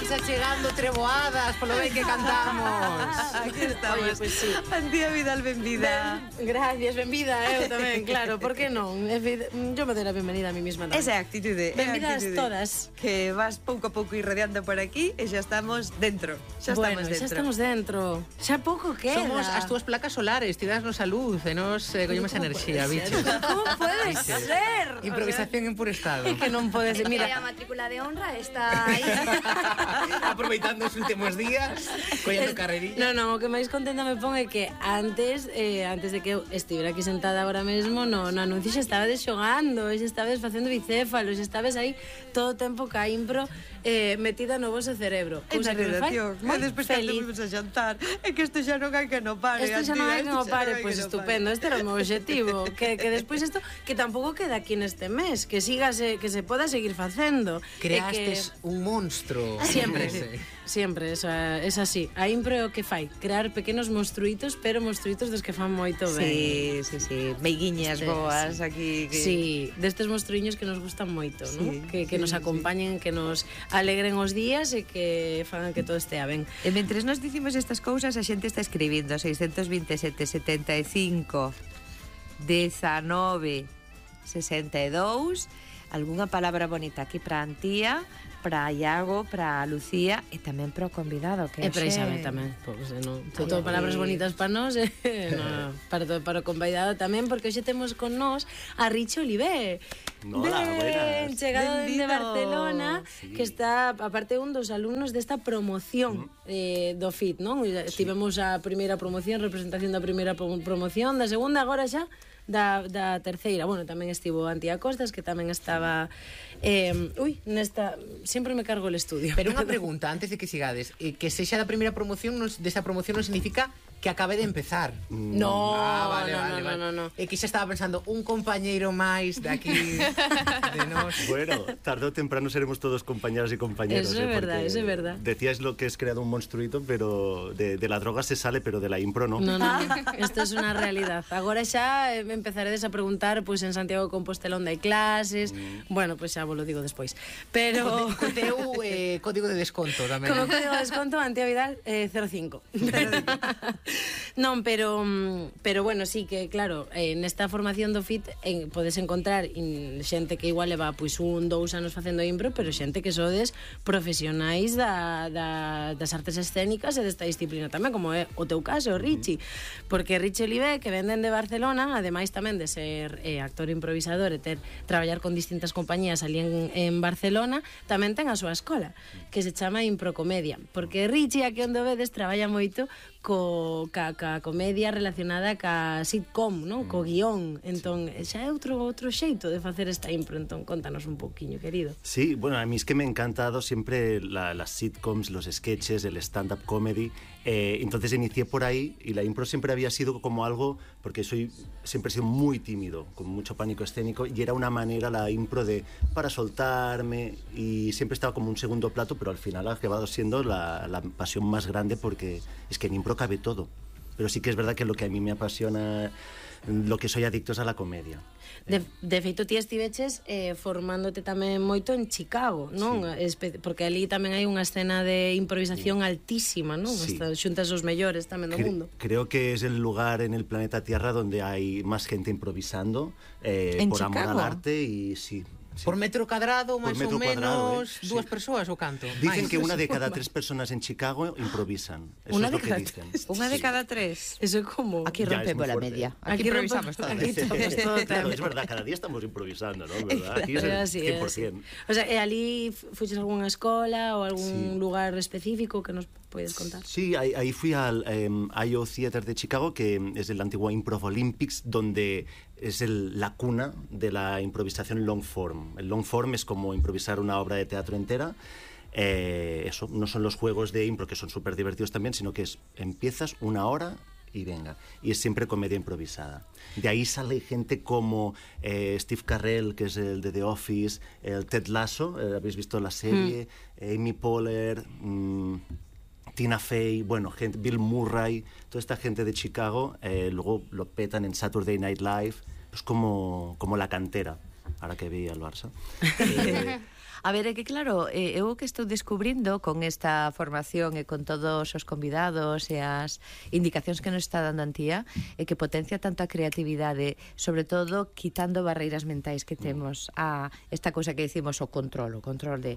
vanse chegando treboadas polo ben que cantamos. Aquí estamos. Oye, pues sí. Antía Vidal, benvida. Gracias, benvida, eu tamén, claro, por que non? Yo me doy la bienvenida a mí misma tamén. Esa actitude. Benvidas todas. Que vas pouco a pouco irradiando por aquí e xa estamos dentro. Xa Bueno, estamos dentro. xa estamos dentro. Xa pouco queda. Somos as túas placas solares, ti dasnos a luz e nos collemos enerxía, bicho. Como pode ser? Improvisación en puro estado. Que non pode ser, Mira, mira. a matrícula de honra está aí. Aproveitando os últimos días, collendo carrerilla. No, o que máis contenta me pon é que antes de que eu estivera aquí sentada agora mesmo, no anuncio xa estabades xogando, xa estabades facendo bicéfalos, xa estabas aí todo o tempo ca impro metida no vosso cerebro. En Cousa a que me fai redacción. moi E despois cando feliz. vimos a xantar, é que isto xa non hai que no pare. Isto xa non hai que no pare, pois pois estupendo, este era o meu objetivo, que despois isto que tampouco queda aquí neste mes, que se poda seguir facendo. Creastes un monstro. Siempre, eso es así. A impro é o que fai, crear pequenos monstruitos, pero monstruitos dos que fan moito ben. Sí. Meiguiñas boas aquí. Sí, destes monstruiños que nos gustan moito, Sí, ¿no? Que nos acompañen, que nos alegren os días e que fagan que todo estea ben. E mentres nos dicimos estas cousas, a xente está escribindo 627 75 19 62 algunha palabra bonita aquí para Antía, para Iago, para Lucía e tamén para o convidado que E para Isabel tamén, pois non. Todo palabras bonitas para nós, para o convidado tamén, porque hoxe temos con nós a Richo Olivé. Hola, buenas. Chegado Benvido. de Barcelona, Sí. que está, aparte, un dos alumnos desta promoción do FIT, non? Tivemos a primeira promoción, representación da primeira promoción, da segunda, agora xa da terceira. Bueno, tamén estivo Antía Costas, que tamén estaba nesta, sempre me cargo el estudio. Pero unha pregunta, antes de que sigades, que sexa da primeira promoción, desa promoción non significa que acabe de empezar. No, vale. no. É que xa estaba pensando, un compañeiro máis de aquí, de nós. Bueno, tarde o temprano seremos todos compañeras y compañeros. Eso es verdad, porque eso es verdad. Decíais lo que es creado un monstruito, pero de la droga se sale, pero de la impro no. No, isto é unha realidad. Agora xa empezaredes a preguntar, pois en Santiago de Compostela onde hai clases. Bueno, pois xa vos lo digo despois. Pero Co teu código de desconto tamén. como código de desconto Antía Vidal 05. Non, pero bueno, sí que claro, nesta formación do FIT podes encontrar xente que igual leva pois 1, 2 anos facendo impro, pero xente que sodes profesionais das artes escénicas e desta disciplina tamén, como é o teu caso, Richi, porque Richi Olivé, que venden de Barcelona, ademais tamén de ser actor improvisador e traballar con distintas compañías ali en Barcelona, tamén ten a súa escola, que se chama Improcomedia, porque Richi, aquí onde vedes, traballa moito ca comedia relacionada ca sitcom, non? Co guión. Entón, xa é outro xeito de facer esta impro. Entón, contanos un pouquiño, querido. Sí, bueno, a mí es que me ha encantado siempre las sitcoms, los sketches, el stand-up comedy. Entonces inicié por ahí y la impro siempre había sido como algo, porque siempre he sido muy tímido, con mucho pánico escénico, y era una manera la impro para soltarme, y siempre estaba como un segundo plato, pero al final ha acabado siendo la pasión más grande, porque es que en impro cabe todo. Pero sí que es verdad que lo que a mí me apasiona, lo que soy adicto es a la comedia. De feito, ti estiveches formándote tamén moito en Chicago, non? Sí. Porque ali tamén hai unha escena de improvisación altísima, non? Sí. Hasta xuntas os mellores tamén do mundo. Creo que es el lugar en el planeta Tierra donde hay más gente improvisando por Chicago? amor al arte y sí. Por metro cadrado, máis ou menos, sí. 2 persoas o canto. Dicen que una de cada 3 personas en Chicago improvisan. Eso Una es de lo que cada dicen. Unha de Sí. cada 3. Eso é como... Aquí Ya, es rompemos muy la fuerte. media. Aquí improvisamos todos. Aquí estamos todos. Claro, es verdad, cada día estamos improvisando, ¿no? ¿Verdad? Aquí es el Así, 100%. así. O sea, ali fuches a algunha escola ou algún Sí. lugar específico que nos podes contar? Sí, ahí fui al IO Theater de Chicago, que es el antiguo Improv Olympics, donde es la cuna de la improvisación long form. El long form es como improvisar una obra de teatro entera. Eso, no son los juegos de impro, que son súper divertidos también, sino que empiezas una hora y venga. Y es siempre comedia improvisada. De ahí sale gente como Steve Carell, que es el de The Office, el Ted Lasso, habéis visto la serie, Amy Poehler, Tina Fey, bueno, Bill Murray, toda esta gente de Chicago, luego lo petan en Saturday Night Live. Es como la cantera, ahora que veía el Barça. A ver, é que claro, eu o que estou descubrindo con esta formación e con todos os convidados e as indicacións que nos está dando Antía é que potencia tanto a creatividade, sobre todo quitando barreiras mentais que temos a esta cousa que decimos o control de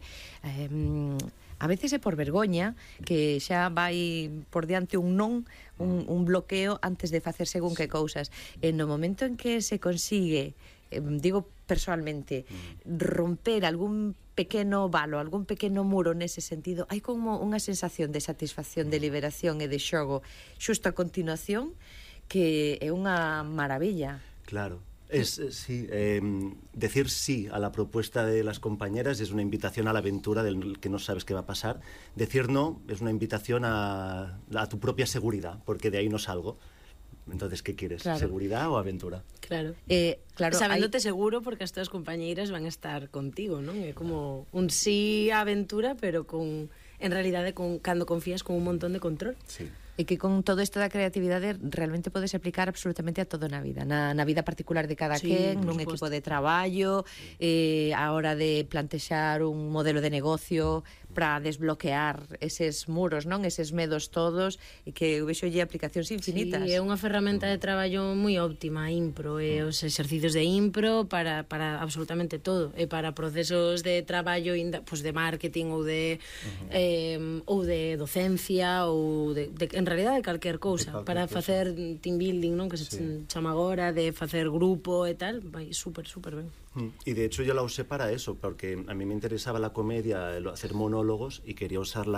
a veces é por vergoña que xa vai por diante un non, un bloqueo antes de facer según que cousas. E no momento en que se consigue, digo persoalmente, romper algún pequeno valo, algún pequeno muro nese sentido, hai como unha sensación de satisfacción, de liberación e de xogo xusto a continuación que é unha maravilla. Claro. Sí, decir sí a la propuesta de las compañeras es una invitación a la aventura del que no sabes qué va a pasar. Decir no es una invitación a tu propia seguridad, porque de ahí no salgo. Entonces, ¿qué quieres? Claro. ¿Seguridad o aventura? Claro. Claro, Sabiéndote seguro porque as túas compañeiras van a estar contigo, non? É como un sí a aventura, pero con en realidade cando confías con un montón de control. Sí. E que con todo isto da creatividade realmente podes aplicar absolutamente a todo na vida, na vida particular de cada quen, nun equipo de traballo, a hora de plantexar un modelo de negocio para desbloquear eses muros, non? Eses medos todos, e que vexolle aplicacións infinitas. Sí, é unha ferramenta de traballo moi óptima a impro, e os exercicios de impro para absolutamente todo, e para procesos de traballo pues de marketing ou de docencia ou en realidad de calquer cousa, para facer team building, non, que se chama agora, de facer grupo e tal, vai super ben. Y de hecho yo la usé para eso, porque a mí me interesaba la comedia, hacer monólogos, y quería usarla